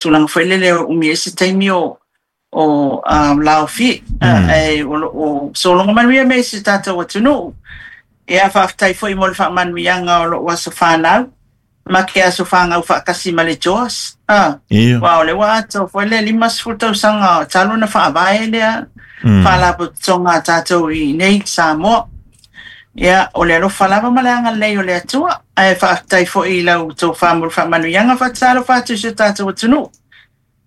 Tulaga foi lele o umi ai se taimi o laofie, ae o lo o sologa manuia mea i si o tatou atunuu. Ia, faafetai foi mo le faamanuiaga o lou aso fanau, ma ke aso fanau faatasi ma le JOS. Aua o lea ua atoa foi le 50 tausaga talu ona faavae lea faalapotopotoga a tatou i inei i Samoa. Ia, o le alofa lava ma le agalelei o le Atua, ae faafetai foi i lau tofa mo le faamanuiaga. Faatalofa atu i si o tatou atunuu.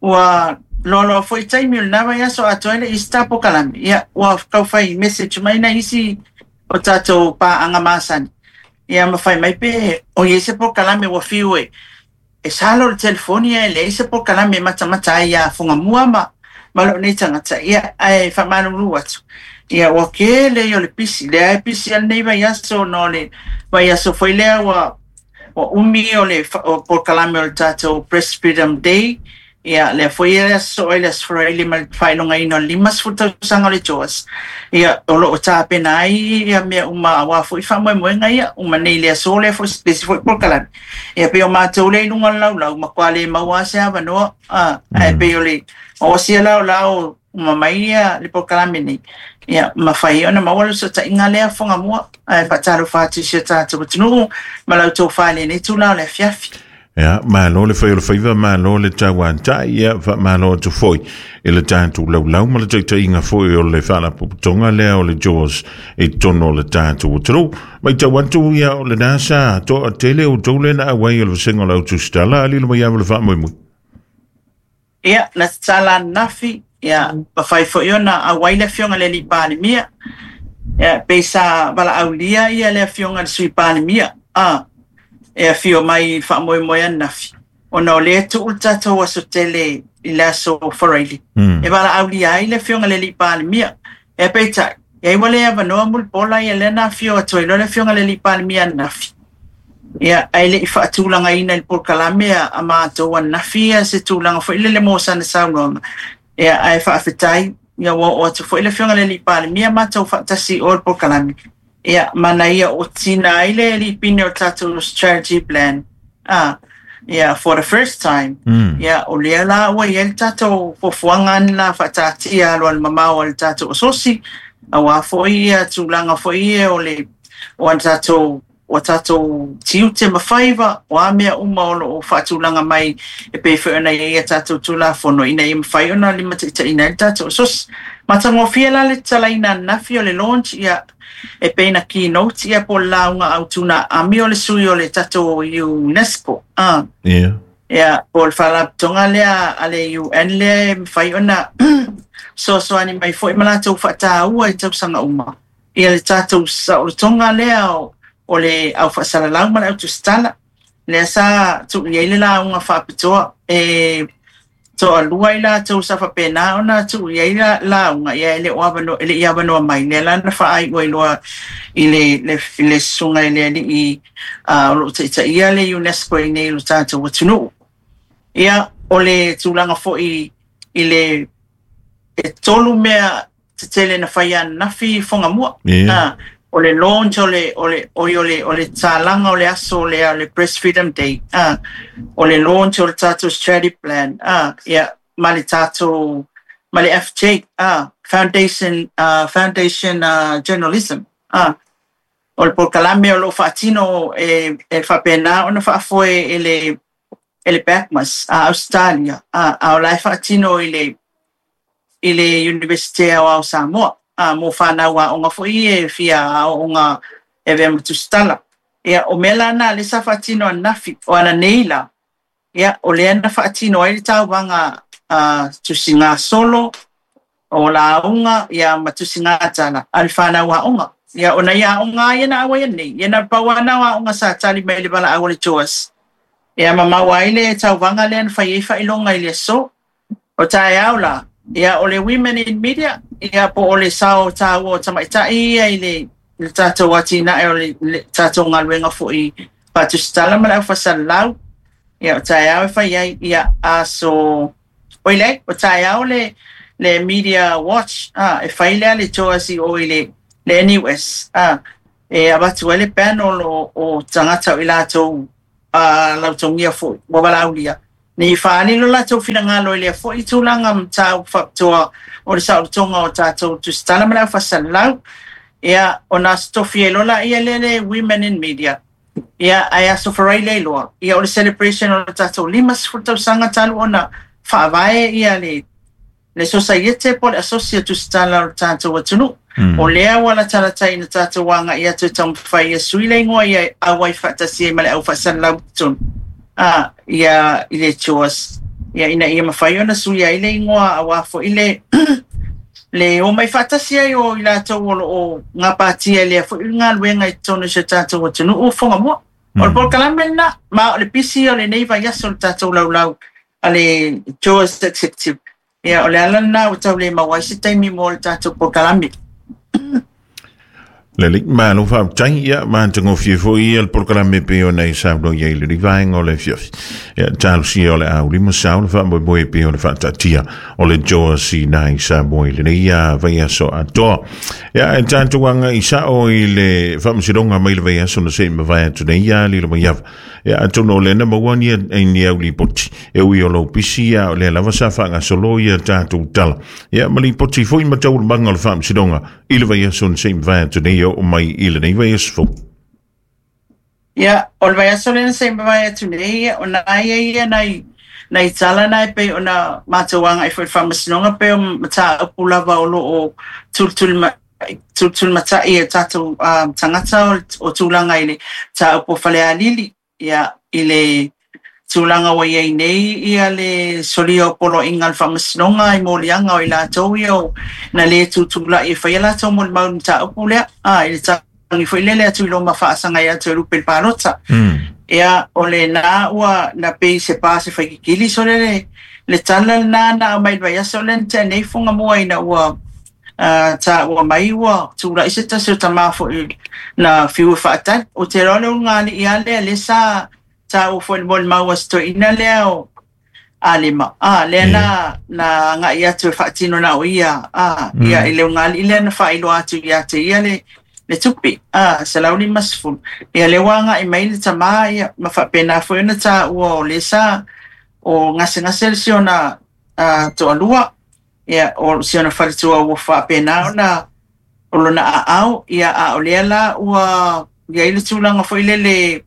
Ua loaloa foi taimi o lena vaiaso atoa ai le Easter polokalame. Ia, ua tau fai message mai nai isi o tatou paaga masani, ia ma fai mai pe o i ai se polokalame ua fiu e salo le telefoni ae leai se polokalame e matamata ai ia Fugamua ma lou nei tagata. Ia, ae faamalulu atu, ia ua tele ia o le pisi, lea e pisi lava lenei vaiaso ona o le vaiaso foi lea ua umi o le polokalame o le tatou Press Freedom Day. Ia, lea foi e aso soo ai le Aso Faraile ma le faailogaina o le 50 tausaga o le JOS. Ia, o lo o tapena ai ia mea uma aua foi faamoemoega ia, uma nei le aso lea foi le isi foi polokalame. Ia pei o matou lea i luga o le laulau, matua le maua lava se avanoa, ae pei o le maosi la o la o uma mai ia le polokalame nei, ia mafai ona maua le fesootaiga lea Fugamua. Ae faatalofa atu i si o tatou atunuu ma la outou fa i lenei itula o le afiafi. Ia, malo le fai o le faiva, malo le tauatai, ia, faamalo atu foi i le tatou laulau ma le taitaiga foi o le faalapotopotoga lea o le JAWS i totonu o le tatou atunuu. Matau atu, ia, o lena sa toatele outou lea na auai o le vasega o le autusitala, a lilo mai lava le faamoemoe. Ia, na tatala ananafi, ia, mafai foi ona auai le Afioga i le Alii Palemia. Ia, pei sa valaaulia ia le Afioga i le Sui Palemia, a, e afio mai i le faamoemoe ananafi, ona o lea e tuu le tatou aso tele i le aso Faraile, e valaaulia ai le Afioga i le Alii Palemia. Ia, peitai, ia ua le avanoa Mulipola ia lea na afio atu ai loa le Afioga i le Alii Palemia ananafi. Ia, ae le i faatulagaina i le polokalame a matou ananafi ia se tulaga foi lele mo sana saunoaga. Ia, ae faafetai, ia ua oo atu foi le Afioga i le Alii Palemia matou faatasi i o i le polokalame. Ia, ma na ia otina ai le lipine o le tatou strategy plan. A, ia, for the first time, ia, o lea la ua i ai le tatou fuafuaga la faataatia alualumamao a le tatou asosi, aua foi ia tulaga foi ia o le o a tatou o tatou tiute ma faiva, o a mea uma o lo o faatulaga mai e pei foi ona i ai a tatou Tulafono ina ia mafai ona limataitaiina ai le tatou asosi. Matagofie la le tatalaina ananafi o le launch, ia, e pei na keynote ia po o le lauga autu na aami o le sui o le tatou UNESCO, a. Ia, po o le faalapotopotoga lea a le UN lea e mafai ona fesoasoani mai foi ma latou faataua i tausaga uma ia le tatou saolotoga lea o le au faasalalau ma le au tusitala. Lea sa tuu i ai le lauga faapitoa e toalua i latou sa faapena ona tuu i ai lauga, ia e le o avanoa, e le i avanoa mai. Lea la na faaiu ai loa i le susuga i le alii o lo o taitaia le UNESCO i inei i lo tatou atunuu. Ia, o le tulaga foi i le e tolu mea tetele na fai ananafi i Fugamua. O le launch o le o le oi o le o le tatalaga o le aso lea o le Press Freedom Day, o le launch o le tatou strategy plan, ia ma le tatou ma le FJ, Foundation Foundation Journalism, o le polokalame o lo o faatino e faapena ona faafoe e le e le BACMAS a Ausetalia, a o la e faatino i le i le Iunivesite Aoao o Samoa, mo fanau aoga foi e fia aooga e avea ma tusitala. Ia, o mea la na lea sa faatino ananafi, o ananei la, ia, o lea na faatino ai le tauvaga tusigasolo, o lauga, ia, ma tusigatala a le fanau aoga. Ia, o nai aoga lava ia na auai nei, ia na pau lava na o aoga sa tali mai i le valaau a le JOS. Ia, ma maua ai le tauvaga lea na fai ai faailoga i le aso. O taeao la, ia, o le Women in Media, ia, po o le sao taua o tamaitai ia i le tatou atinae o le tatou galuega foi faatusitala ma le aufaasalalau. Ia, o taeao e fai ai, ia, aso oi leai, o taeao le le Media Watch, e fai lea le JOS i o i le NUS, e avatu ai le panel o tagata o i latou lautogia foi ua valaaulia. Nei fa'aali lo latou finagalo i lea fo'i tulaga mataupu fa'apitoa o le sa'olotoga o tatou tusitala ma le aufa'asalalau. Ia ona aso tofi ai loa la'ia lea le Women in Media. Ia ae aso Faraile ai loa, ia o le celebration o le tatou 50 tausaga talu ona fa'avae ia le sosaiete po o le asosi o tusitala o le tatou atunuu. O lea ua latalata ina tatou aga'i atu e taumafai ia sui le igoa ia auai fa'atasi ai ma le aufa'asalalau i totonu ia i le JAWS, ia ina ia mafai ona suia ai le igoa auā fo'i le omai fa'atasi ai o i latou o lo'o gapatia i lea fo'i galuega i totonu o si o tatou atunuu Fugamua. O le polokalame lenā, ma o le pisi o lenei vaiaso le tatou laulau a le JAWS Executive. Ia o le ala lenā ua tau le maua ai se taimi mo le tatou polokalame. Lelei, malo faafetai, ia matagofie foi ia le polokalame pei ona e saunoa i ai i lenei vaega o le afiafi. Ia talosia o le a ulima sao le faamoemoe pei ona faataatia o le JAWS i nai Samoa i lenei vaiaso atoa. Ia e tatou aga'i sa'o i le faamasinoga mai le vaiaso na se i mavae atu nei ia lilo mai ava. Ia atonu o lea na maua ni au lipoti e ui o lou pisi ia o lea lava sa faagasolo ia tatou tala. Ia ma lipoti foi ma taualumaga o le faamasinoga i le vaiaso na se i mavae atu nei e oo mai i lenei vaiaso fou. Ia, o le vaiaso lea na se i mavae atu nei, ia, o nā ia ia nai tala na e pei ona matou aga'i foi i le faamasinoga pei o mataupu lava o lo'o tulitulimata'i e tatou tagata o tulaga i le mataupu o Falealili, ia, i le tulaga ua iai nei ia le solia o poloaiga a le faamasinoga i moliaga o i latou ia o na lē tutula'i e faia latou molimau i le mataupu lea, i le tagi foi lele atu i loma faasagai atu e lupe i le palota. Ia o lenā ua na pei se pa se faikikili sole le tala lenā na aumai i le vaiaso lea na tea nei Fugamua ina ua tāua mai ua tula'i se tasi o tamā fo'i na fiu e fa'atali. Ou te iloa o le ulugalii lava lea lea sa tāua foi i le molimau a si toeaina lea o Alema, lea na aga'i atu e fa'atino na o ia, ia i le ulugalii lea na fa'ailoa atu ia te ia le tupe, 150. Ia lea ua aga'i mai le tamā, ia, ma fa'apena foi ona tāua o lea sa o gasegase le siona to'alua, ia, o siona faletua ua fa'apena ona o lona a'ao, ia, a o lea la ua iai le tulaga foi lele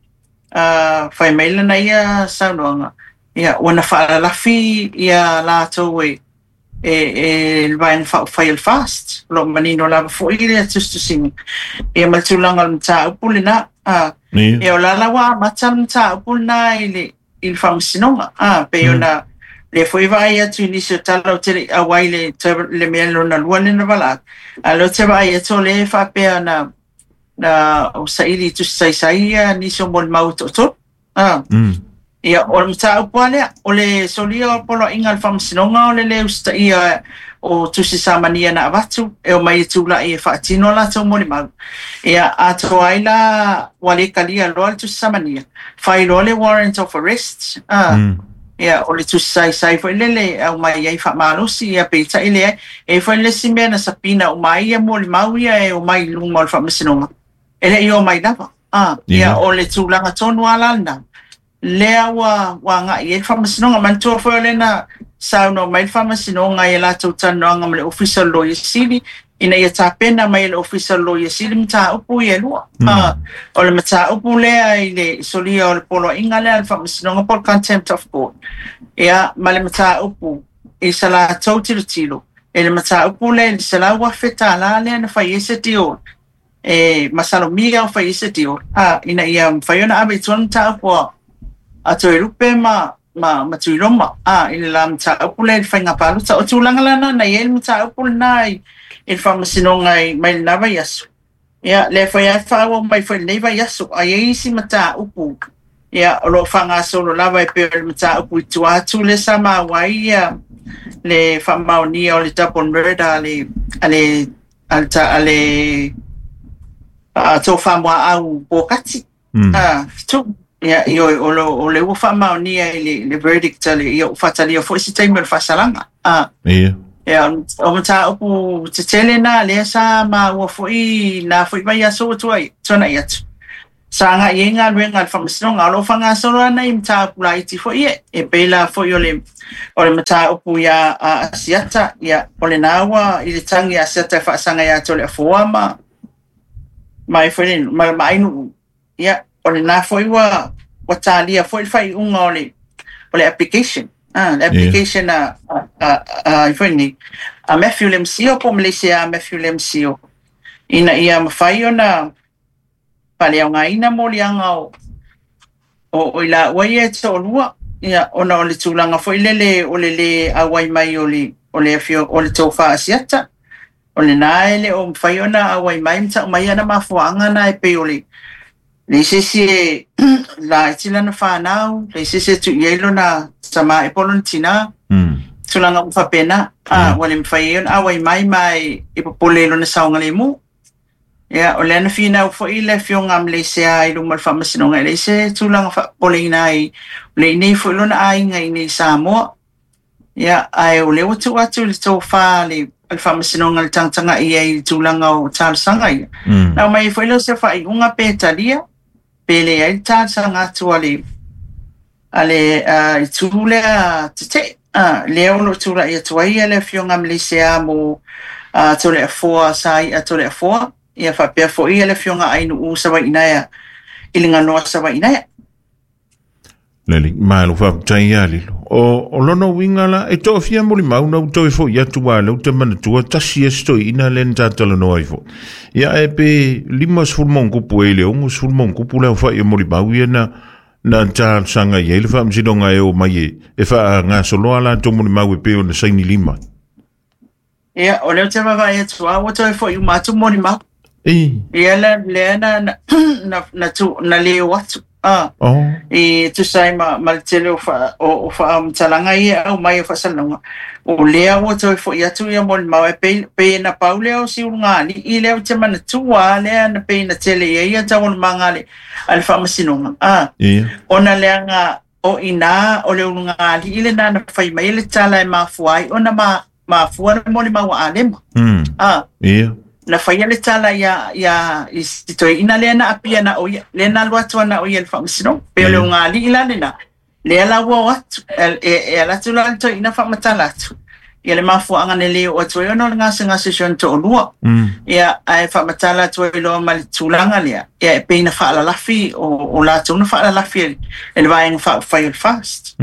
fai mai lana ia saunoaga, ia, ua na fa'alalafi ia latou e le vaega faaupufai o le FAST. O lo'o manino lava fo'i le tusitusiga, ia ma le tulaga o le mataupu lenā. Ia o la ua amata le mataupu lenā i le faamasinoga, pei ona lea foi vaai atu i nisi o tala ou te le'i auai le mea lona lua lea na valaau, a o lea ou te vaai atu o lea e faapea na o saili i tusi saisai ia nisi o molimau e to'atolu. Ia, o le mataupu lava lea, o le solia o poloaiga a le faamasinoga o le lē usitaia o tusi samania na avatu e omai e tula'i e fa'atino a latou molimau. Ia, atoa ai la ua lē kalia loa le tusi samania, fai loa le warrant of arrest, ia, o le tusi saisai foi lele e aumai ai fa'amalosi, ia peita'i leai. E i ai foi le isi mea na sapina uma ai ia molimau ia e omai i luma o le faamasinoga, e le'i omai lava. Ia, o le tulaga tonu lava la lenā, lea ua aga'i ai le faamasinoga. Manatua foi o lea na saunoa mai le faamasinoga i a latou talanoaga ma le Ofisa o le Loia Sili, ina ia tapena mai e le Ofisa o le Loia Sili mataupu ia e lua. O le mataupu lea i le solia o le poloaiga lea a le faamasinoga po o le contempt of court, ia, ma le mataupu i sa latou tilotilo i le mataupu lea i le $100,000 lea na fai ai se deal e masalomia o fai ai se deal, ina ia mafai ona ave i tua le mataupu a Toelupe ma Tuiloma, i le la mataupu lea i le faiga palota. O tulaga la na i ai le mataupu lenā i le faamasinoga mai lenā vaiaso. Ia, lea foi lava e faaauau mai foi i lenei vaiaso, a i ai isi mataupu, ia, o lo'o faagasolo lava e pei o le mataupu i tua atu lea sa maua ai ia le faamaonia o le double murder a le a le a le a le Tofa Muaau Pokati. Fitu. Ia, ioe, o le ua faamaonia i le verdict a le, ia, ua faatalia foi se taimi o le faasalaga. Ia. Ia, o mataupu tetele nā lea sa maua foi nā foi vaiaso ua tuana'i atu. Sa agai i ai galuega a le Faamasinoga. O lo o faagasolo lava nai mataupu laiti foi ia, e pei la foi o le o le mataupu ia Asiata, ia o lena ua i le tagi a Asiata e faasaga ia Toleafoa ma ma foi le ma Maainu'u, ia o lena foi ua talia foi le faaiuga o le application. Le application a foi nei a Matthew Lemcio po o Malaysia a Matthew Lemcio ina ia mafai ona faaleaogaina moliaga o i laua ia e toalua, ia ona o le tulaga foi lele o le lē auai mai o le o le afio o le tofa Asiata. O lena e le o mafai ona auai mai ma ta'u mai ana mafuaaga na e pei o le leai se isi e laiti lana fanau, leai se isi e tu'i ai lona tamā ea po o lona tinā, tulaga uma faapena, ua le mafai ai ona auai mai ma e popole i lona saogalemu. Ia, o lea na finau foi le afioga a Malaysia i luma o le Faamasinoga e leai se tulaga faapopoleina ai, o lea e i inei foi lona aiga i inei i Samoa. Ia, ae o lea ua tuu atu i le tofa a le Faamasinoga le tagatagai ai i le tulaga o talosaga ia. Na aumai ai foi lea o se faaiuga pe talia, pe leai le talosaga atu a le itu lea tetee. Lea o lo o tulai atu ai le afioga Malaysia mo Toleafoa, Sai'a Toleafoa, ia faapea foi le afioga Ainu'u Savaiinaea i le ganoa Savaiinaea. Lele, malo faafetai ia Lilo. O lona uiga la, e toafia molimau na ua toe fo'i atu a lea ou te manatua tasi e se toeaina lea na tatalanoa ai foi. Ia ae pe 50 ma ono tupu e i le 60 ma ono tupu le aofa'i o molimau ia na talosaga i ai le Faamasinoga e o mai e faagasoloa latou molimau e pei ona saini lima. Ia, o lea ou te vaavaai atu a ua toe fo'i uma atu molimau. Ia lea na leo atu. I tusa ai ma le tele o faamatalaga ia e aumai o faasalalauga, o lea ua toe fo'i atu ia molimau e pei na pau lea o si ulugalii lea ou te manatua lea na pei na tele i ai ia taualumaga a le Faamasinoga. Ona leaga o i ina o le ulugalii lena na fai mai le tala e mafua ai ona mafua le molimau a Alema. Na faia le tala ia i si toeaina lea na apia na o ia, lea na alu atu ana o ia i le Faamasinoga. Pei o le ulugalii la lena, lea la ua o atu, e ala atu la le toeaina faamatala atu. Ia le mafuaaga na le oo atu ai ona o le gasegase o si ona toalua. Ia, ae faamatala atu ai loa ma le tulaga lea, ia e pei na faalalafi, o latou na faalalafi e le vaega faaupufai o le FAST.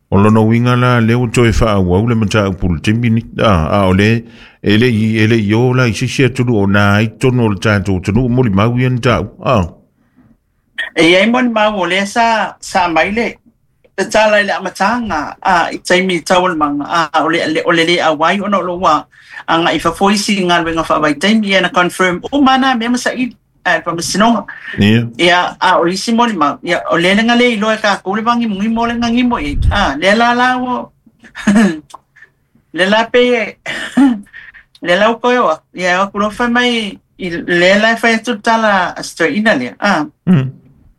O lona uiga la lea ua toe faaauau le mataupu i le taimi nei. A o le e le i o la i se isi atunuu o na ai totonu o le tatou atunuu molimau ia na ta'u. E i ai molimau o lea sa mai le tala i le amataga i taimi taualumaga o le lē auai ona o lo o ua agai i fafo isi galuega faavaitaimi, ia na confirm uma na mea ma saili a le Faamasinoga. Ia, a o isi molimau, ia o lea na le iloa e kākou le vagimogimo o le gagimo i ai. Lea la la ua lea la pei e lea la ua toe o atu, ia o atu loa fai mai lea la e fai atu le tala a si toeaina lea.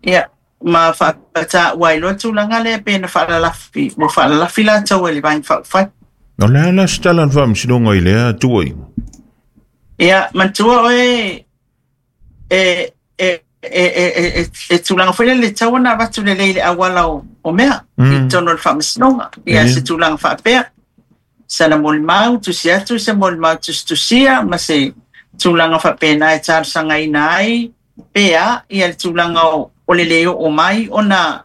Ia, ma faataua ai loa tulaga lea pe na faalalafi, ua faalalafi latou e le vaega faaupufai. O le a la se tala a le Faamasinoga i lea tuuaiga? Ia, manatua oe e e e e e e tulaga foi lele tatau ona avatu lelei i le auala o mea i totonu o le Faamasinoga. Ia se tulaga faapea. Sana molimau, tusi atu se molimau tusitusia ma se tulaga faapena e talosagaina ai pe a ia le tulaga o le lē oo mai ona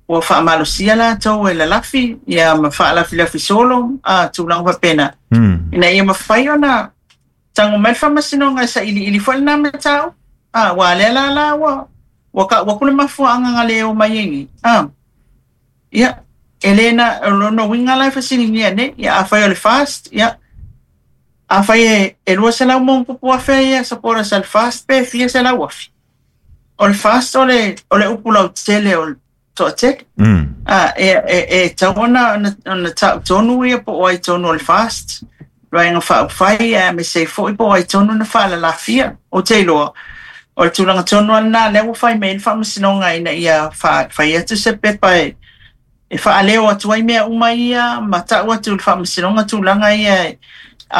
ua faamalosia latou e lalafi ia ma faalafilafi solo tulaga faapena. Ina ia mafai ona tago mai le Faamasinoga e sailiili foi lena mataupu. Ua lea la la ua ta'u atu le mafuaaga na le o mai ai nei. Ia, e le na o lona uiga la e fesiligia nei, ia afai o le FAST, ia afai e 200,000+ ia supporters a le FAST pe fia selau afe. O le FAST o le upu lautele o le toatele. E tatau ona ta'u tonu ia po o ai tonu o le FAST, vaega faaupufai aemaise ai foi po o ai tonu na faalalafia. Ou te iloa, o le tulaga tonu lava lena lea ua fai mai ai le Faamasinoga ina ia fai atu se pepa e faaleo atu ai mea uma ia ma ta'u atu i le Faamasinoga tulaga ia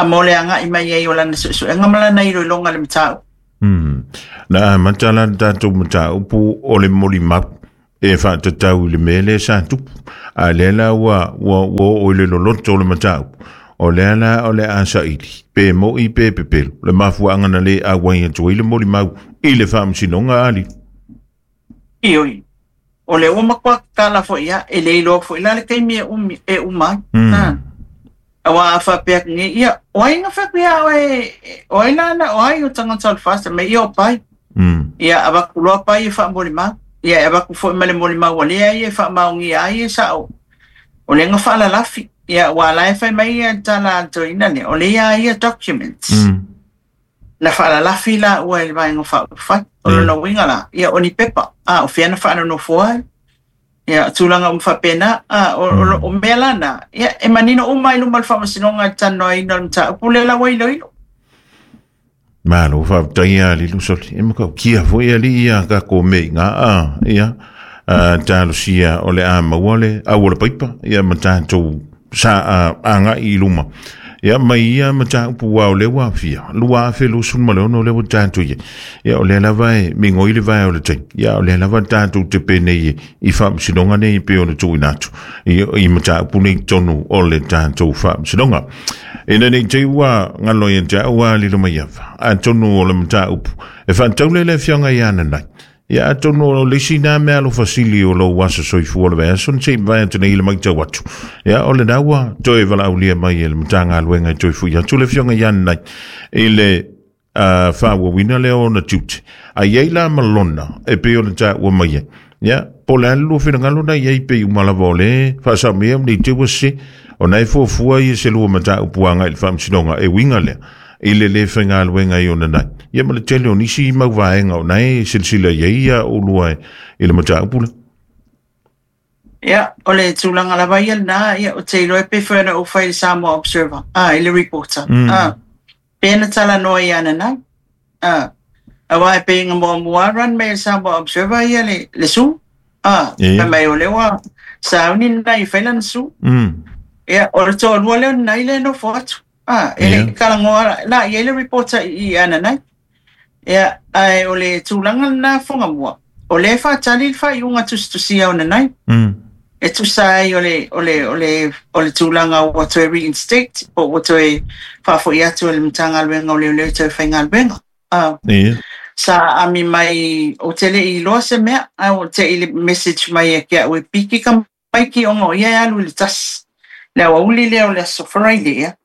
mo le agai mai ai o lana suesuega ma lana iloiloga i le mataupu. Na amata la le tatou mataupu o le molimau e faatatau i le mea lea sa tupu. A lea la ua oo i le loloto o le mataupu, o lea la o le a saili, pe mo'i pe pepelo, le mafuaaga na le auai atu ai le molimau i le faamasinoga a Lilu. Ioe, o lea ua matua tatala foi ia, e le iloa foi la le taimi e umi e uma ai. Aua a faapea atu nei, ia, o ai na fai atu ia oe, o ai la na, o ai o tagata o le FAST, mai ia o pai. Ia, avatu loa pai e faamolimau. Ia, e avatu foi ma le molimau a lea ia e faamaonia ai e sao. O lea na faalalafi. Ia, aua la e fai mai ia le tala a le toeaina lea, o lea ia documents. Na faalalafi la ua i le Vaega Faaupufai. O lona uiga la, ia o ni pepa, a o fea na faalonofo ai. Ia, o tulaga uma faapena, a o mea la na, ia, e manino uma i luma o le Faamasinoga i le talanoaina o le mataupu lea la ua iloilo. Malo faafetai ia Lilu Soli. E matautia foi alii ia tatou mea i ina a, ia, talosia o le a maua le au o le paipa, ia ma tatou sa agai i luma. Ia mai ia mataupu ua o lea ua afia, 2026 lea ua tatou i ai. Ia o lea lava e migoi le vae o le taimi. Ia o lea lava tatou te penei i faamasinoga nei pei ona tuuina atu i mataupu nei tonu o le tatou faamasinoga. Ina nei te i ua galo ia te au a lilo mai ava, atonu o le mataupu e faataule le afioga ia Nanai. Ia atonu o le isi nā mea alofa sili o lou aso soifua o le vaiaso na se i mavae atu nei i le matau atu. Ia o lena ua toe valaaulia mai e le Matagaluega e toe fui atu le afioga ia Nanai i le faaauauina lea o ona tiute. A i ai la ma lona e pei ona taua mai ai. Ia, po o le a le lua finagalo na i ai pei uma lava o le faasao mai nei te ua sese. Ona e fuafua ia se lua mataupu agai i le faamasinoga e uiga lea i le le faigaluega i ona nai. Ia ma le tele o nisi mau vaega o na e silasila i ai ia ulua i le mataupu lea. Ia, o le tulaga lava ia lena, ia, ou te iloa e pei foi ona ou fai i le Samoa Observer, i le reporter, pe na talanoa ia Nanai, aua e pei na muamua run mai e le Samoa Observer ia le su, fai mai o lea ua sauni Nanai e fai lana su. Ia, o le toalua lea o Nanai lea e nofo atu, e le i talanoa la i ai le reporter i ia Nanai. Ia, ae o le tulaga lena Fuagamua, o lea e faatali le faaiuga tusitusia o Nanai. E tusa ai o le, o le, o le, o le tulaga ua toe reinstate, po ua toe faafoi atu e le Matagaluega o Leoleo e toe faigaluega. Sa ami mai, ou te le i iloa se mea, ae ua te i le message mai ia te au e piki tamaiti ona o ia e alu i le tasi. Le aoauli lea o le aso Faraile, ia.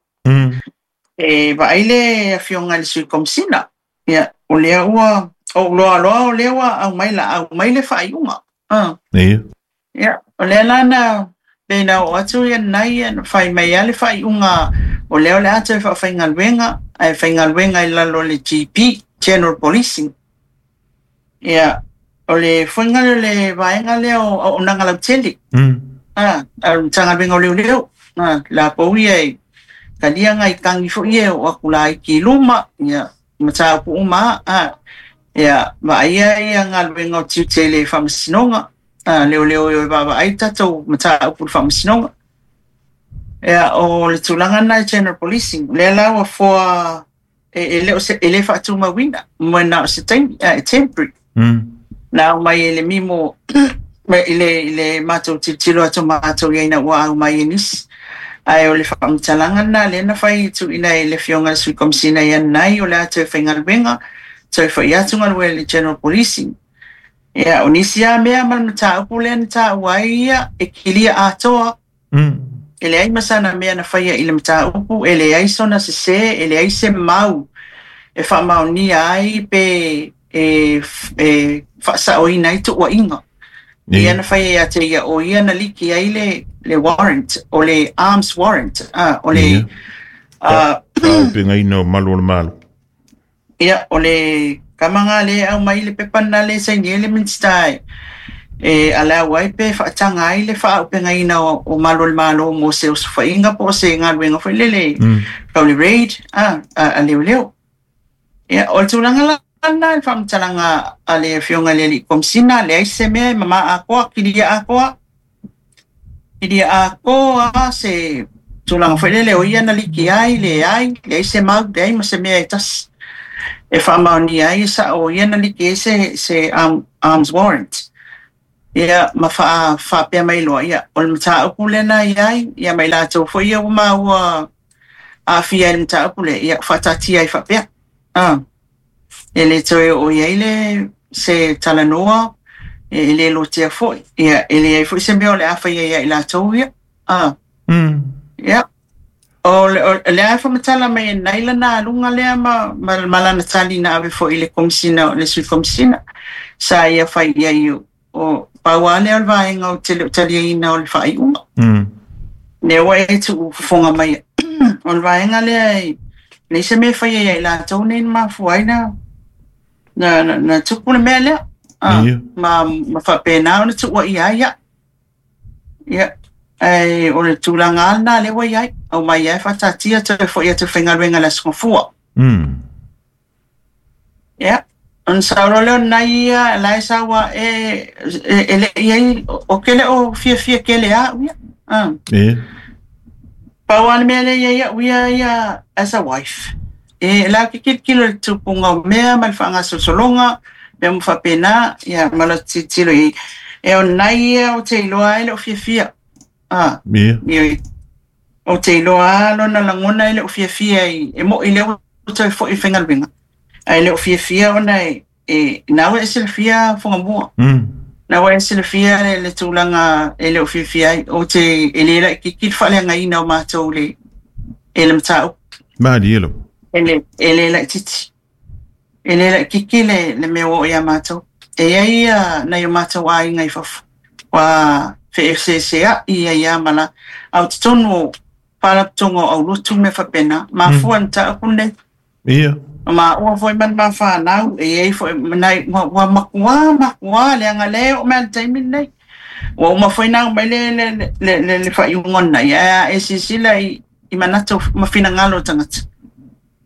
E vaai le afioga i le Sui Komesina, ia, o lea ua, ou loa loa o lea ua aumai la, aumai le faaiuga. Ia, o lea la na, pei na oo atu ia lenai, ia, na fai mai lava le faaiuga, o lea o le a toe faafaigaluega, ae faigaluega i lalo o le GP, General Policing. Ia, o le foiga lea o le vaega lea o auaunaga lautele. A o le Matagaluega o Leoleo. Latou ia e talia nai tagi foi ia e oo atu laiti i luma, ia, mataupu uma lava. Ia, vaaia ia galuega o tiute i le Faamasinoga. Leoleo e o e vaavaai tatou mataupu i le Faamasinoga. Ia, o le tulaga lena i General Policing, lea la ua foa e le o se, e le faatumauina, mo na o se taimi, e temporary. Na aumai e le mimo i le matou tilotilo atu matou i ai ina ua aumai e nisi. Ae o le faamatalaga lena lea na fai tuuina e le afioga i le Sui Komesina ia Nanai, o le a toe faigaluega, toe foi atu galuega i le General Policing. Ia, o nisi lava mea ma le mataupu lea na taua ai ia, e kilia atoa. E leai ma sana mea na faia i le mataupu, e leai sona sesē, e leai se mau e faamaonia ai pe e faasaoina ai tuuaiga. Ia na faia ia te ia, o ia na liki ai le warrant, o le arms warrant, o le Faaaupegaina o malu o le Malo. Ia, o le tama lena lea e aumai le pepa lena lea e saini ai le Minisita e allow ai pe faataga ai le faaaupegaina o malu o le Malo mo se osofaiga po o se galuega foi lele tau le raid a leoleo. Ia, o le tulaga la lena i le faamatalaga a le Afioga i le Alii Komesina, leai se mea e mama atoa, kilia atoa. Kilia atoa se tulaga foi lele o ia na liki ai, leai, leai se mau, leai ma se mea e tasi. E faamaonia ai e sa'o ia na liki ai se arms warrant. Ia ma faapea mai loa, ia, o le mataupu lea na i ai, ia ma i latou foi ia ua maua aafia i le mataupu lea, ia faataatia ai faapea. E le toe oo i ai le se talanoa, e le lotea foi, ia, e leai foi se mea o le a faia ia i latou ia. Ia. O le a faamatala mai e nai lana aluga lea ma lana tali na ave foi i le komisina, le sui komisina. Sa ia fai ia i o pau lea o le vaega o te le o taliaina o le faaiuga. Lea ua e tuufofoga mai. O le vaega lea e leai se mea e faia ia i latou nei na mafua ai na tupu le mea lea. Ma faapena ona tuuaia ai ia. Ia, o le tulaga lava lena lea ua i ai. Aumai ai faataatia toe foi atu faigaluega i le Aso Gafua. Ia, ona sao loa lea o nai ia la e sau a e le i ai, o ke le o fiafia kele au ia. Pau lava le mea lea i ai au ia as a wife. E la ke kilokilo i le tupuga o mea ma le faagasolosologa, mea uma faapena, ia ma le tilotilo i ai. E o nai ia o te iloa ai le o fiafia. O te iloa lona lagona e le o fiafia i, e moi lea ua toe foi i faigaluega. Ae le o fiafia ona e na ua e silafia Fugamua. Na ua e silafia le tulaga e le o fiafia ai. O te e le laitiiti le faaleagaina o matou le e le mataupu. Malie lo. E le laitiiti. E le laitiiti le mea ua oo ia matou. E iai ia nai o matou aiga i fafo. Ua feeseeseai ia ia ma la. Au totonu o faalapotopotoga o aulotu mea faapena. Mafua le mataupu lenei. Ia. Ma ua foi ma le mafanau e iai foi nai ua matua leaga lea oo mai le taimi lenei. Ua uma foi na aumai le faaiuga lena ia e silasila i manatu ma finagalo o tagata.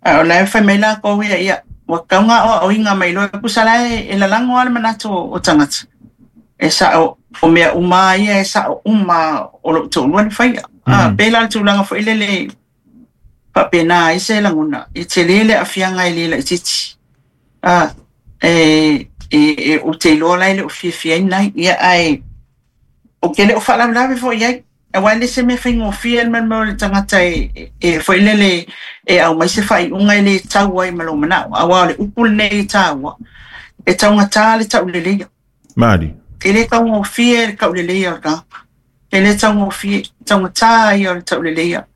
Ae o la e fai mai lakou ia, ia ua tatau ona aoaoina mai loa pusa la e lalago lava le manatu o tagata. E sa'o o mea uma ia e sa'o uma o lou toalua na faia. Pei la le tulaga foi lele faapena ai se lagona e tele le aafiaga e le laitiiti. E ou te iloa la e le o fiafia ai nai. Ia ae o ke le o faalavelave foi i ai. Aua e le se mea faigofie le mea o le tagata e foi lele e aumai se faaiuga e le tau ai ma lou manao. Aua o le upu lenei e taua, e taugata le tauleleia. Mali. E le taugofie le tauleleia o le tagata. E le taugofie, taugata ia o le tauleleia.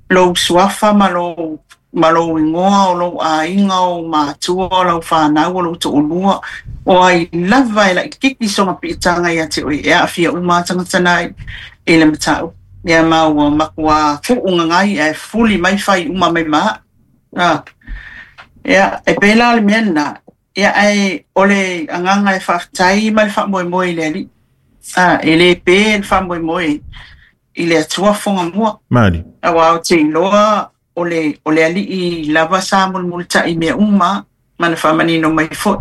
Lou suafa ma lou igoa o lou aiga o matua o lau fanau o lou toalua. O ai lava e laitiiti sona piitaga ia te oe e aafia uma tagata nai e le mataupu. Ia ma ua matua tuugagai ae fuli mai fai uma mai ma. Ia, e pei la o le mea lena. Ia ae o le agaga e faafetai ma le faamoemoe i le Alii. E le pe le faamoemoe i le Atua Fogamua. Mali. Aua o te iloa o le Alii lava sa mulimulitai mea uma ma na faamanino mai foi.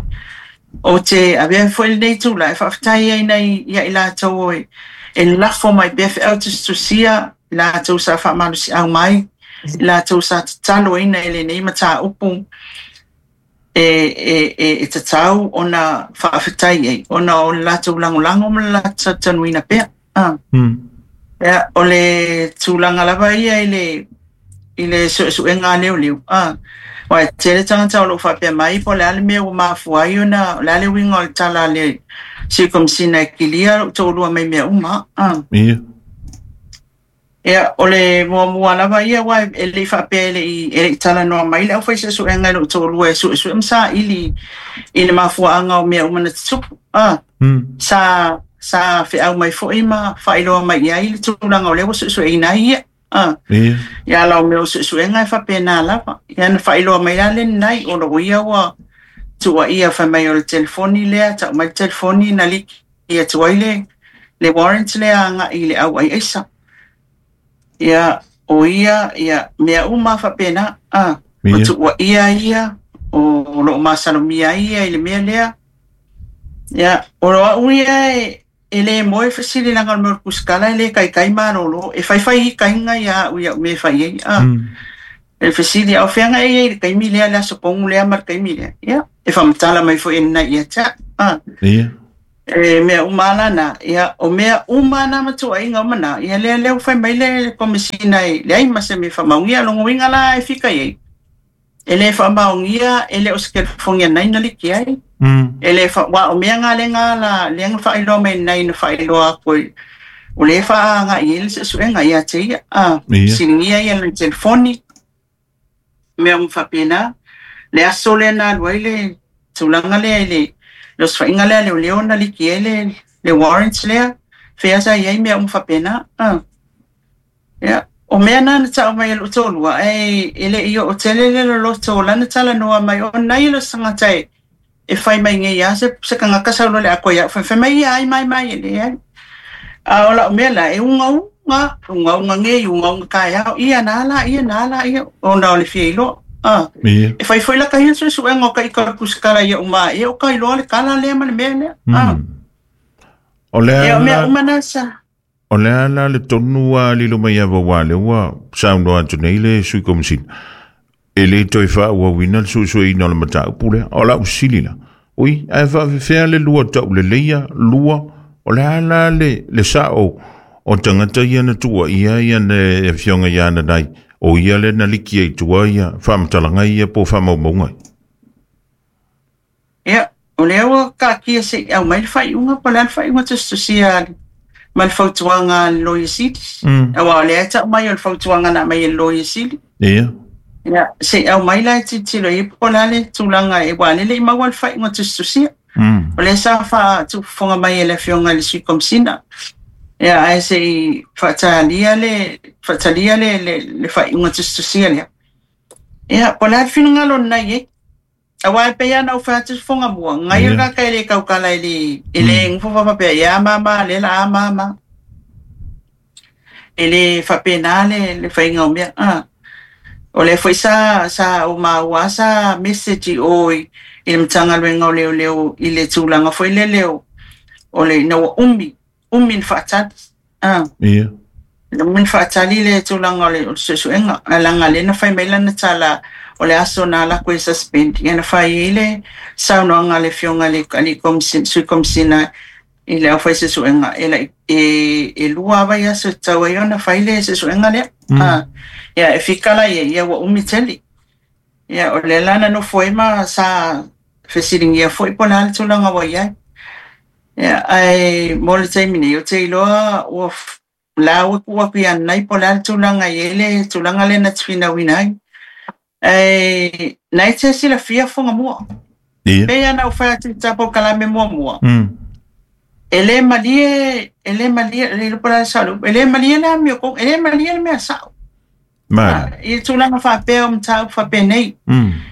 O te avea foi lenei tulaga e faafetai ai nai ia i latou e lafo mai pea feau tusitusia, i latou sa faamalosiau mai, i latou sa tataloina i lenei mataupu e tatau ona faafetai ai, ona o le latou lagolago ma le latou talitonuina pea. Ia, o le tulaga lava ia i le suesuega a leoleo. Aua e tele tagata o loo faapea mai po o le a le mea ua mafua ai ona o le a le uiga o le tala a le Sui Komisina e kilia lou toalua mai mea uma. Ia. Ia, o le muamua lava ia aua e le i faapea e le i talanoa mai le aufai-suesuega i lou toalua e suesue ma saili i le mafuaaga o mea uma na tutupu. Sa feau mai foi ma faailoa mai i ai le tulaga o lea ua suesueina ai ia. Ia ala o mea o suesuega e faapena lava. Ia na faailoa mai la lenei o lou ia ua tuuaia fai mai o le telefoni lea, tau mai le telefoni na liki atu ai le warrant lea agai i le au ai aisa. Ia, o ia, ia, mea uma faapena. O tuuaia ia, o loo masalomia ia i le mea lea. Ia, o lo au ia e le moe fesili laga o le mea o le kusikala e le kaikai malolo. E faifai ikaina ia au ia au mea e fai ai. E fesili au feaga e iai le taimi lea le aso pogu lea ma le taimi lea. Ia, e faamatala mai foi e lena ia te a'u. Ia. E mea uma lana, ia, o mea uma na matuaiga uma na, ia lea lea ua fai mai le Komesina e leai ma se mea e faamaonia. Logoina la e fika i ai. E le faamaonia, e le o se telefoni a nai na liki ai. E le fa, wa o mea ngā le ngā la, le ngā whaailoa mai nai na whaailoa aku o le whaanga i ele se suenga ia te ia. Silingia ia le telefoni, mea umfapena, le aso le na alua i le tulaga lea i le osofaiga lea leoleo na liki ai le warrants lea, fea sa i ai mea uma faapena. Ia, o mea na na ta'u mai e lo'u toalua, ae e le'i oo tele le loloto o lana talanoa mai ona ia lo sagata e fai mai nei a se tagata saulo le akoa ia'u faifai mai ia ai mai mai e leai. A o la'u mea la e ugauga ugauga nei ugauga taeao ia na ala ia na ala ia ona o le fia iloa. Ia. E fai foi la ka ia suesuega o ka ika o le pusikala ia uma ia o ka iloa le kala lea ma le mea lea. O le Ia o mea ala uma na sa. O le ala le tonu a lilo mai ava wa le ua saunoa atu nei le Sui Komesina. E le toe faauauina le suesueina o le mataupu lea. O lau sili la. Ui, ae faafefea le lua tau leleia, lua, o le ala le sao o tagata ia na tua ia ia ne afioga ia na nai. O ia le na liki ai tua ia, faamatalaga ia po faamaumauga. Ia, o lea ua kaatia se'i aumai le faaiuga po o le a le faaiuga tusitusia ma le fautuaga a le Loia Sili. Auā o lea e ta'u mai o le fautuaga na aumai e le Loia Sili. Ia. Ia, se'i aumai la e tilotilo i ai po o le a le tulaga e uā lele i maua le faaiuga tusitusia. O lea sa faatufofoga mai e le afioga i le Sui Komesina. Ia, ae se'i faatalia le faatalia le faaiuga tusitusia lea. Ia, po o le a le finagalo lena i ai. Auā e pei lava ona ou fai atu fofoga mua, gai o le tagata e le tautala e le e le nofo faapea ia a mama lea la a mama. E le faapena le faiga o mea. O lea foi sa ou maua sa message i o i le Matagaluega o Leoleo i le tulaga foi lele o le ina ua umi, umi na faatali. Ia. Umi na faatali le tulaga o le suesuega. Ae leaga lea na fai mai lana tala o le aso na ala atu e suspend. Ia na fai ai le saunoaga a le afioga i le alii Komesina, Sui Komesina i le aufai suesuega e lai e lua lava aso e tatau ai ona fai le suesuega lea. Ia e fika la ia ia ua umi tele. Ia o lea la na nofo ai ma sa fesiligia foi po o le a le tulaga ua i ai. Ia ae mo le taimi nei o te iloa ua la ua tuu atu ia nai po o le a le tulaga i ai le tulaga lea na te finauina ai. Ae na e te silafia fofoga mua. Ia. Pei ona ou fai atu i tapo kalame muamua. E le malie, e le malie, le iloa po o le a le sao o le upu, e le malie le amio e le malie le mea sa'o. Mali. I tulaga faapea o mataupu faapenei.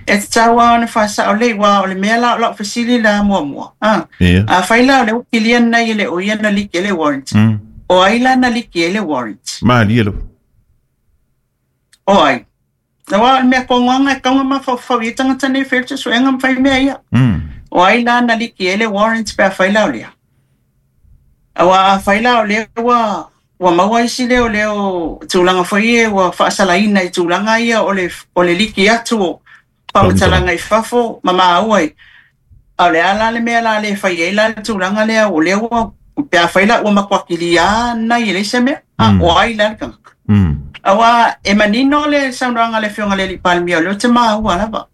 E tatau lava ona faasa'o lelei uā o le mea la o la'u fesili la muamua. Ia. Afai la o lea ua kilia lenei e le o ia na liki ai le warrant. O ai la na liki ai le warrant? Malie lava. O ai? Auā o le mea kogoaga e tatau ona mafaufau i ai tagata nei e fai le suesuega ma fai mea ia. O ai la na liki ai le warrant pe afai la o lea? Auā afai la o lea ua maua isi leo tulaga foi ia ua faasalaina i tulaga ia o le liki atu o faamatalaga i fafo ma maua ai. A o le a la le mea la le fai ai la le tulaga lea o lea ua pe afai la ua matuakilia nai e leai se mea. O ai la le tagata. Auā e manino le saunoaga a le afioga i le alii Palemia o lea ou te maua lava.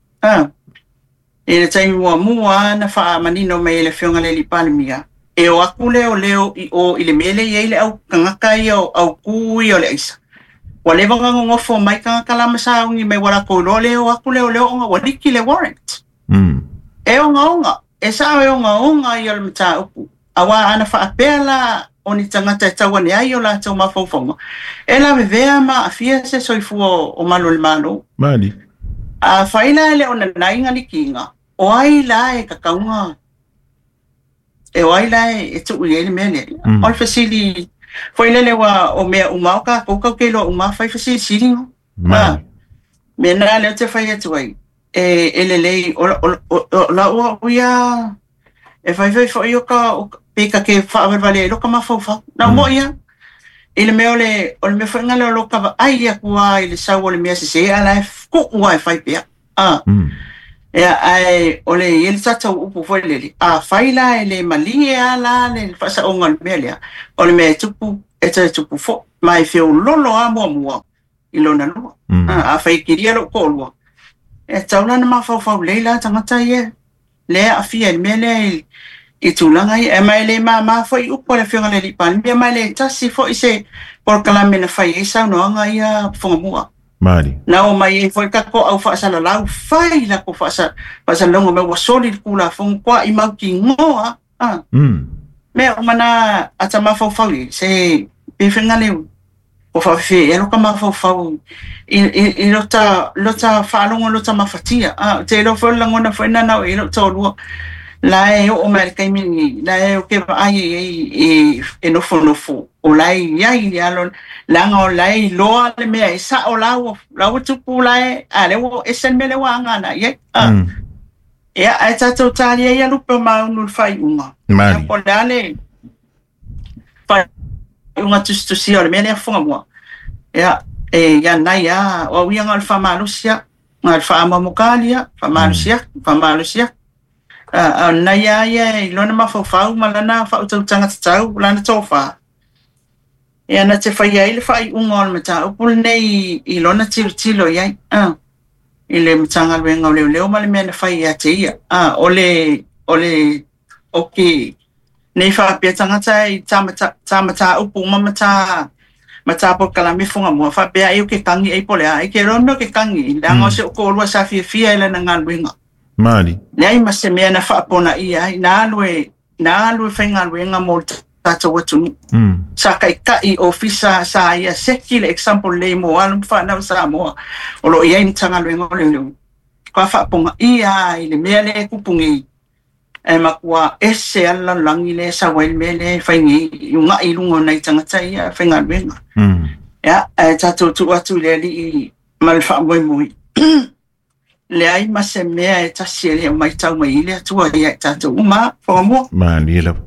I le taimi muamua na faamanino mai e le afioga i le alii Palemia, e o atu leoleo i o i le mea lea e i ai le au tagata ia o aukū ia o le aisa. Ua leva ona nonofo mai tagata la ma sauni mai ua latou iloa le o atu leoleo ona ua liki le warrant. E ogaoga, e sa'o e ogaoga ia o le mataupu. Auā ana faapea la o ni tagata e tau ane ai o latou mafaufauga, e lavevea ma aafia se soifua o malu o le Malo. Mali. Afai la e le o nanai na likiga, o ai la e tatauga, e o ai la e tuu i ai le mea lea. O le fesili foi lele ua o mea uma o tatou tatou te iloa uma fai fesilisiliga. Mali. Mea na lea ou te fai atu ai, e lelei, o lau au ia e faifai foi o ka pe ka ke faavalevale ai lo ka mafaufau. Na mo ia. I le mea o le, o le mea foi lena o lo vaai atu lava i le sau o le mea sese a la e tuu lava e fai pea. Ia, ae o le i le tatou upu foi lele, a fai la e le malie lava la le faasaoga o le mea lea, o le mea e tupu, e toe tupu foi, ma e feololo lava muamua i lona lua. A fai e kilia lou toalua, e tatau la ona mafaufau lelei la tagata ia lea e aafia i le mea lea i tulaga ia. E ma e le māmā foi upu a le Afioga i le Alii Palemia, ma e le tasi foi se polokalame na fai ai saunoaga ia Fugamua. Mali. Na o mai ai foi tatou au faasalalau, fai latou faasalalauga mai ua soli le Tulafono, toai mautinoa. Mea uma na ata mafaufau i se pe faiga leu o faafefea ea lota mafaufau i lota faalogo lota mafatia. Te iloa foi o le lagona foi lena na oo i ai lou toalua. La e oo mai i le taimi lenei, la e ou te vaai i ai e nofonofo, o la e i ai le alo, leaga o la e iloa le mea e sao la ua tupu la e, a lea ua ese le mea lea ua aga agai i ai. Ia, ae tatou talia ia lupe o maunu i le faaiuga. Mali. Po o le a le faaiuga tusitusia o le mea lea Fugamua. Ia, e ia nai lava, o au ia na o le faamalosi lava, na o le faaamoamokali lava, faamalosi atu, faamalosi atu. A o lenei lava ia i lona mafaufau ma lana faautautaga tatau, lana tofa. Ia na te faia ai le faaiuga o le mataupu lenei i lona tilotilo i ai. I le Matagaluega o Leoleo ma le mea na fai ia te ia. O le o ke nei faapea tagata i tā mataupu uma ma tā polokalame Fugamua faapea ai o ke tangi ai po o le a ai ke loa mea o ke tangi leaga o se o toalua sa fiafia i lana galuega. Mali. Leai ma se mea na faaponaia ai, na alu e faigaluega mo le tatou atunuu. Sa taitai ofisa sa ia seki le example lelei mo alo ma fanau Samoa o lo o i ai le Matagaluega o Leoleo. Ka faapogaia ai le mea lea e tupu nei, e matua ese lava le lalolagi lea e sau ai le mea lea e fai nei, i ugai i luga o nai tagata ia faigaluega. Ia, ae tatou tuu atu i le Alii ma le faamoemoe. Leai ma se mea e tasi e le o matau mai ai le Atua ia i tatou uma, Fugamua. Malie lava.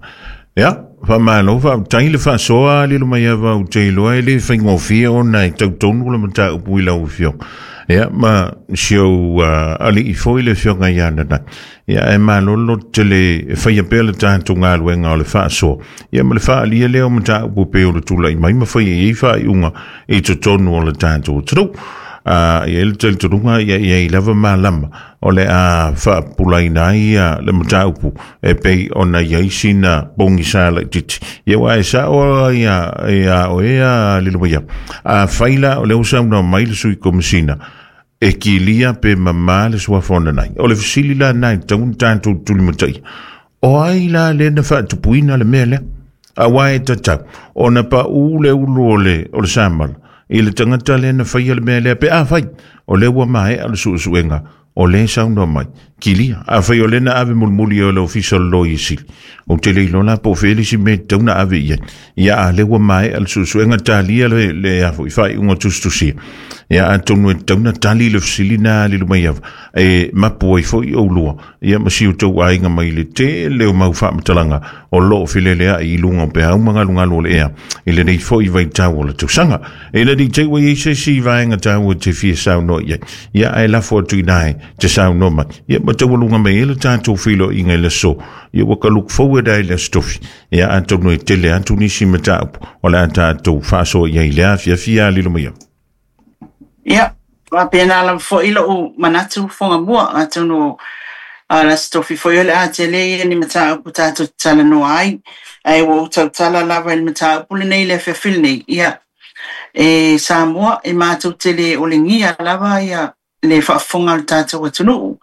Ia, faamalo, faafetai le faasoa lilo mai ava ou te iloa e le faigofie ona e tautonu le mataupu i lau afioga. Ia, ma si ou alii foi le afioga ia Nanai. Ia, ae malolo tele e faia pea le tatou galuega o le faasoa. Ia, ma le faaalia lea o mataupu pei o le tulai mai ma faia i ai faaiuga i totonu o le tatou atunuu. Ia i le talitonuga ia i ai lava malama o le a faapupulaina ai ia le mataupu e pei ona i ai sina pogisa laitiiti. Ia aua e sao ia ia oe a lilo mai au. Afai la o lea ua saunoa mai le Sui Komesina e kilia pe mamā le suafa o Nanai. O le fesili la lena e tatau ona tatou tulimataia. O ai la lea na faatupuina le mea lea? Aua e tatau ona paū le ulu o le, o le samala i le tagata lea na faia le mea lea pe afai o lea ua maea le suesuega o lea e saunoa mai. Kilia, afai o lea na ave mulimuli e le Ofisa o le Loia Sili, ou te le iloa la po o fea le isi mea e tatau ona ave i ai. Ia, a lea ua maea le suesuega, talia le, le a foi, faaiuga tusitusia. Ia, atonu e tatau ona tali le fesili lena a Lilomaiava, e mapu ai foi oulua, ia ma si o outou aiga mai le tele o mau faamatalaga o lo o feleleai i luga o peau ma galugalu o le ea i lenei foi vaitau o le tausaga. E le te ua i ai se isi vaega taua e te fia saunoa i ai, ia ae lafo atu i ina e te saunoa mai. Ia ma taualuga mai ai le tatou feiloaiga i le aso, ia ua ka look forward ai i le Aso Tofi. Ia atonu e tele atu nisi mataupu o le a tatou faasoa i ai i le afiafi a lilo mai au. Ia, faapena lava foi lou manatu Fugamua, atonu o le Aso Tofi foi o le a tele ia ni mataupu tatou te talanoa ai, ae ua ou tautala lava i le mataupu lenei i le afiafi lenei. Ia, e Samoa, e matou te le olegia lava ia le faafofoga a le tatou atunuu.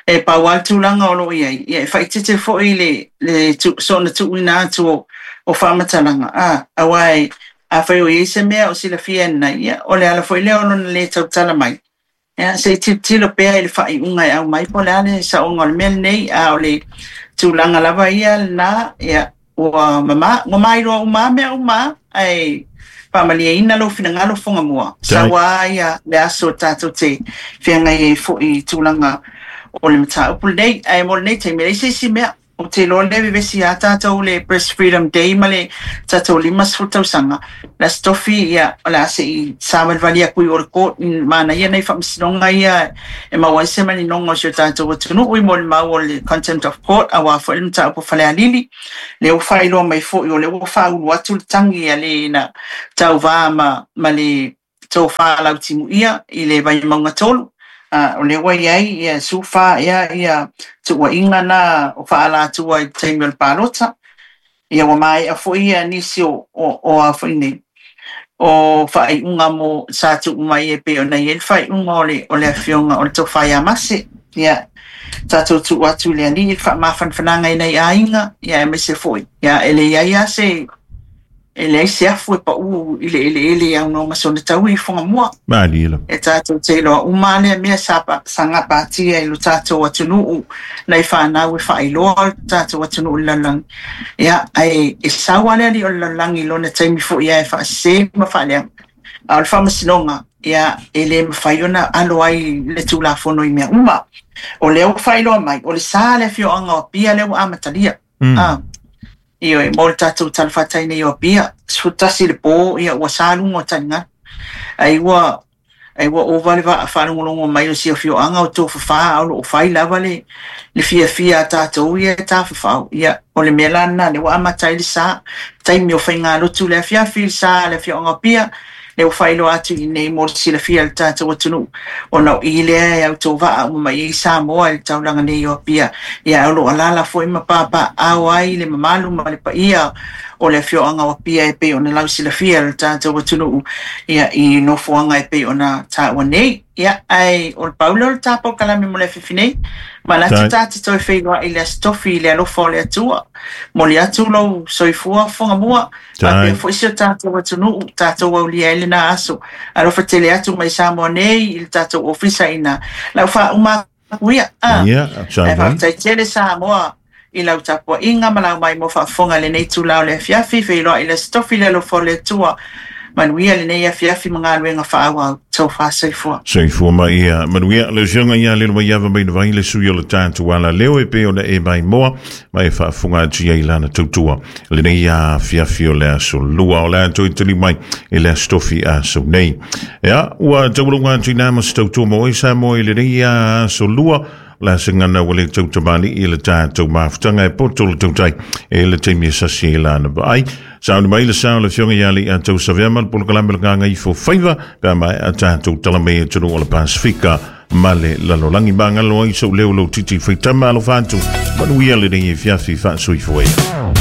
E pau lava le tulaga o lo o i ai, ia e faaeteete foi le soona tuuina atu o faamatalaga, aua afai o i ai se mea o silafia e lenei, ia o le ala foi lea o lona le tautala mai, ia se i tilotilo pea i le faaiuga e aumai po o le a le saoga o le mea lenei, a o le tulaga lava ia lena, ia ua mama, ua mailoa uma lava mea uma, ae faamalieina lou finagalo Fugamua, sau lava ia le aso tatou te feagai ai foi i tulaga o le mataupu lenei. Ae mo lenei taimi, e leai se isi mea. Ou te iloa lea e vevesi lava tatou i le Press Freedom Day ma le tatou 50 tausaga, le Aso Tofi, ia, o le a se i savalivali atu i o i le court, manaia nai faamasinoga ia e maua ai se maninoga o si o tatou atunuu i molimau o le contempt of court aua foi le mataupu a Falealili. Lea ua faailoa mai foi o lea ua faaulu atu le tagi a le na tauva ma le tofa Lautimuia i le Vaimauga 3. O lea ua i ai ia 14 ea ia tuuaiga na o faaalatua i le taimi o le palota. Ia ua maea foi ia nisi o a foi nei o faaiuga mo sa tuu mai e pei ona i ai le faaiuga o le afioga o le tofa ia Mase. Ia tatou tuu atu i le Alii le faamafanafanaga i nai aiga, ia aemaise foi ia e leai lava se e leai se afu e pau i le eleele e aunoa ma sona taui i Fugamua. Malie lava. E tatou te iloa uma lea mea sa gapatia i lo tatou atunuu nai fanau e faailoa le tatou atunuu i le lalolagi. Ia, ae e sau lava le alii o le lalolagi i lona taimi foi e faasese ma faaleaga. A o le faamasinoga, ia, e le mafai ona alo ai le Tulafono i mea uma. O lea ua faailoa mai, o le sa le afioaga o Apia lea ua amatalia. Ioe, mo le tatou talafatai nei o Apia, 11 le po, ia ua sa luga o taligalu. Ai ua ova le faalogologo mai o si afioaga o tofafa, a o loo fai lava le fiafia a tatou ia e tafafao. Ia, o le mea la lena, lea ua amata ai le sa. Taimi o faigalotu le afiafi, le sa le afioaga o Apia, lea ua faailoa atu i nei mo le silafia e le tatou atunuu, ona o i lea e autovaa uma mai ai Samoa i le taulaga nei o Apia. Ia, o loo alaala foi ma papaaao ai le mamalu ma le paia o le afioaga o Apia e pei ona lausilafia e le tatou atunuu, ia, i nofoaga e pei ona taua nei. Ia, ae o le pau lea o le tapolokalamu mo le afiafi nei. Manatu ta te toe feiloai i le Aso Tofi i le alofa o le Atua. Moli atu lou soifua Fugamua, faapea foi si o tatou atunuu, tatou aulia ai lena aso. Alofa tele atu mai Samoa nei i le tatou ofisa ina lau faauma atu ia. Ia, Ae faafetai tele Samoa i lau tapuaiga ma lau mai mo faafofoga i lenei itula o le afiafi, feiloai i le Aso Tofi i le alofa o le Atua. Manuia lenei afiafi ma galuega faaauau. Tofa soifua. Soifua ma ia manuia. Le afioga ia Lilomaiava mai le vai le sui o le tatou ala leo e pei ona e maimoa ma e faafofoga atu i ai lana tautua lenei afiafi o le aso lua o le a toe tali mai i le Aso Tofi aso nei. Ia, ua taulunga atu i nā ma se tautua mo oe Samoa i lenei aso lua la se ngana ua le tautamali i le tatou mafutaga e poto le tautai e le taimi e sasi e lana vaai. Sauni mai le sao le afioga ia le a tau savea ma le polokalame le gagaifo faiva pe a mai a tatou tala mai e tunu o le Pasifika ma le lalolagi magalo ai sou leo lou titi faitama alofa atu manuia lenei afiafi faasoifua ia.